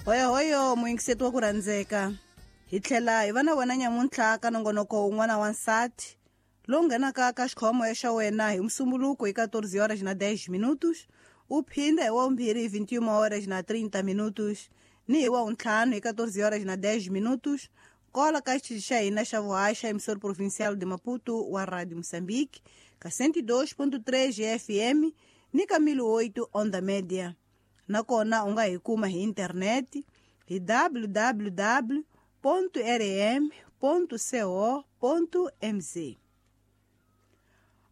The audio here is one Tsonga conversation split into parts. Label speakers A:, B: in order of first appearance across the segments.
A: Hoyohoyo muyingiseti wa ku rhandzeka, hi tlhela hi va na wena nyamuntlha ka nongonoko wun'wana wa nsati lowu nghenaka ka xikhomo xa wena hi Musumbuluko hi 14 horas na 10 minutos, u phinda hi wavumbirhi hi 21 horas na 30 minutos, ni hi wavuntlhanu hi 14 horas na 10 minutos, kola ka xitichi xa hina xa vuhaxa emissora provincial de Maputo wa Radio Moçambique ka 102.3 FM ni ka 1008 onda média. Nakona u nga hi kuma hi internet hi www.rm.co.mz.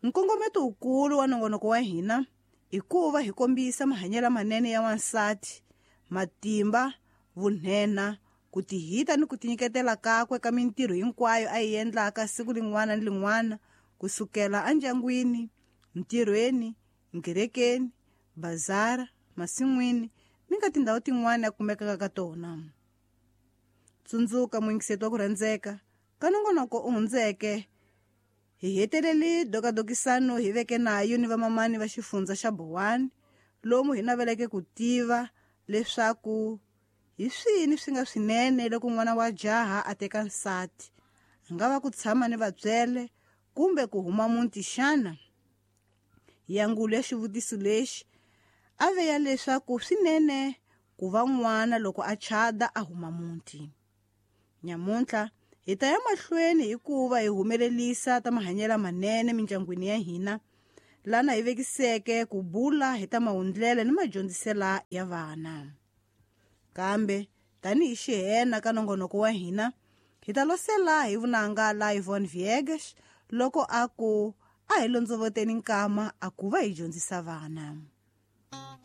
A: Nkongometo wukulu wa nongonoko wa hina i ku va hi kombisa mahanyelo manene ya wansati, matimba, vunhena, ku tihita ni ku tinyiketela kakwe ka mintirho hinkwayo a yi endlaka siku lin'wana ni lin'wana, kusukela endyangwini, ntirhweni, nkerekeni, bazara, masin'wini ni ka tindhawu tin'wana a kumekaka ka tona. Tsundzuka muyingiseti wa ku rhandzeka, ka nongonoko u hundzeke hi heteleli dokadokisano hi veke nayo ni vamamani va xifundza xa Bowani, lomu hi naveleke ku tiva leswaku hi swini swi nga swinene loko n'wana wa jaha a teka nsati, a nga va ku tshama ni vatswele kumbe ku huma muti xana? Yangulo ya xivutiso lexi a ve ya leswaku swinene ku va n'wana loko a chada a huma muti. Nyamuntlha hi ta ya mahlweni hikuva hi humelelisa ta mahanyelo manene mindyangwini ya hina, lana hi vekiseke ku bula hi ta mahundlela ni madyondzisela ya vana. Kambe tanihi xihena ka nongonoko wa hina, hi ta losela hi vunanga la Yvonne Viegas loko a ku a hi londzovoteni nkama a ku va hi dyondzisa vana.